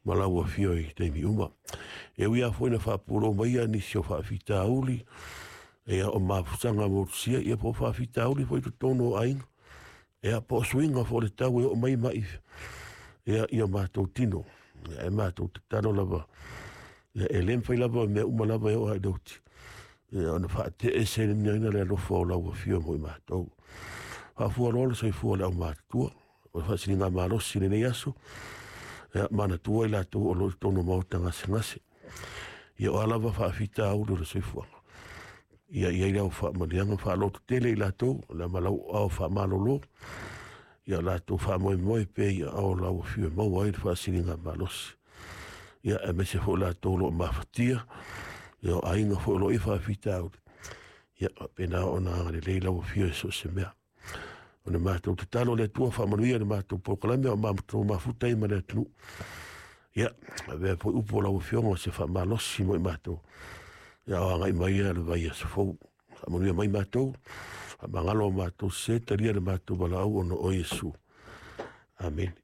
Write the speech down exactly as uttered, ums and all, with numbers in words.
Ma lau afio i taimi uma. E ui lava foi ina faapulou mai ia nisi o faafitauli, ia o mafusaga motusia, ia po o faafitauli foi i totonu o aiga, ia po o suiga foi o le tau e oo mai mai ia i o matou tino. Ia, e matou tatalo lava, ia, e le mafai lava mea uma lava e oo lava i le oti, ia, ona faateeseina le alofa o lau afio mo i matou. Faafua loa le soifua o le aumatutua, o le faasiliga malosi i lenei aso, ia, manatua i latou o lo o i totonu o maota gasegase. Ia o a lava faafitauli o le soifuaga, ia i ai lau faamanuiaga faalototele i latou, le ma lau ao faamalolo, ia latou faamoemoe pea i aao o lau afio e maua ai le faasiliga malosi. Ia aemaise foi latou o lo o mafatia, ia o aiga foi o lo o i faafitauli, ia faapena ona agalelei lau afio i so o se mea. O le matou tatalo le Atua faamanuia le matou polokalame o matou mafuta ai ma le atunuu. Ia, avea foi upu o lau afioga o se faamalosi mo i matou. Ia o agai mai ia le vaiaso fou. Faamanuia mai matou, faamagalo matou se talia le matou valaau ona o Iesu. Amene.